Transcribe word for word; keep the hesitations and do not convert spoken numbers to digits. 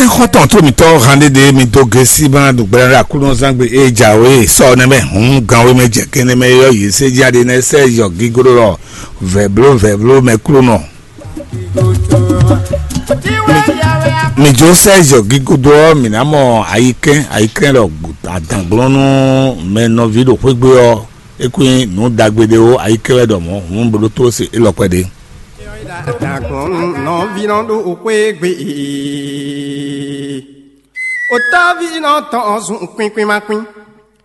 Xɔ́ntɔn tó mǐtɔn hande ɖé mi dó gesi ma ɖo gbɛɖe Aklúnɔzángbe e jǎwe sɔ nɛ mɛ hǔn gan wé mɛ jɛ kɛnɛ mɛ yɔ yě sɛ jí aɖe nɛ sɛ yɔ gígóɖó lɔ vɛ̌bló vɛ̌bló mɛ klúnɔ. Mi jó sɛ yɔ gígóɖó ɔ́, mǐ ná mɔ ayikɛn ayikɛn lɔ adǎnglɔ́nú mɛ nɔví ɖo xwé gbe ɔ́, é kún nyí nǔ ɖagbe ɖé ó, ayikɛn wɛ ɖɔ mɔ̌ hǔn bló tló se élɔ́ kpɛɖé. Dagbɔn nɔví nɔ ɖo xwé gbe. Otɔ́ví nɔ tɔn zun kwín kwín ma kwín.